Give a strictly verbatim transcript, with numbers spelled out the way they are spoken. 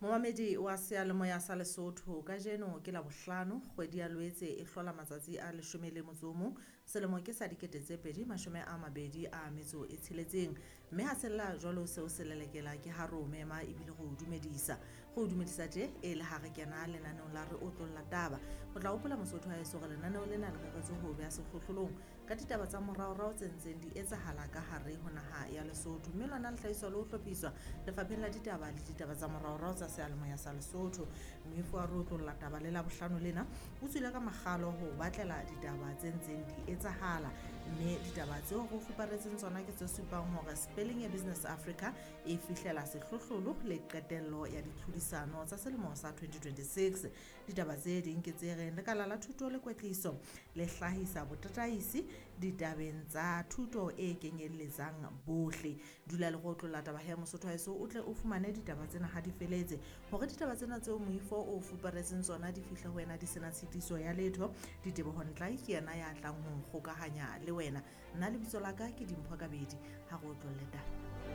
Momamedi wa seyalemoya sa Lesotho, kajeno ke Labohlano, kgwedi ya Loetse e hlola matsatsi a leshome le motso o mong, selemo ke sa dikete tse pedi mashome a mabedi a metso e tsheletseng. Mme ha sella jwalo seo se lelekela ke ha re o mema ebile re o dumedisa. Re o dumedisa tje e le ha re kena lenaneong la re otlolla taba. O tla hopola Mosotho wa heso hore lenaneo lena le reretswe ho beha sehlohlolong ka ditaba tsa moraorao tse ntseng di etsahala ka hare ho naha ya Lesotho. Mme lona le hlahiswa le ho hlophiswa lefapheng la ditaba le ditaba tsa moraorao tsa seyalemoya sa Lesotho. Moifo wa re otlolla taba le Labohlano lena o tswile ka makgalo ho batlela ditaba tse ntseng di etsahala. Mme ditaba tseo re fuparetseng tsona ke tse supang hore Spelling ya Business Africa e fihlela sehlohlolo le qetello ya ditlhodisano tsa selemo sa twenty twenty-six. Ditaba tse ding ke tse reng lekala la thuto le kwetliso le hlahisa botataisi ditabeng tsa thuto e kenyelletsang bohle. Dula le go otlolla taba ya Mosotho haeso o tle o fumane ditaba tsena ha di feletse. Hore ditaba tsena tseo moifo o fuparetseng tsona di fihle ho wena di sena tshitiso ya letho, Diteboho Ntlae ke yena ya tlang ho nkgokahanya le wena. Nna lebitso la ka ke Dimpho Kabedi, ha re otlolle taba.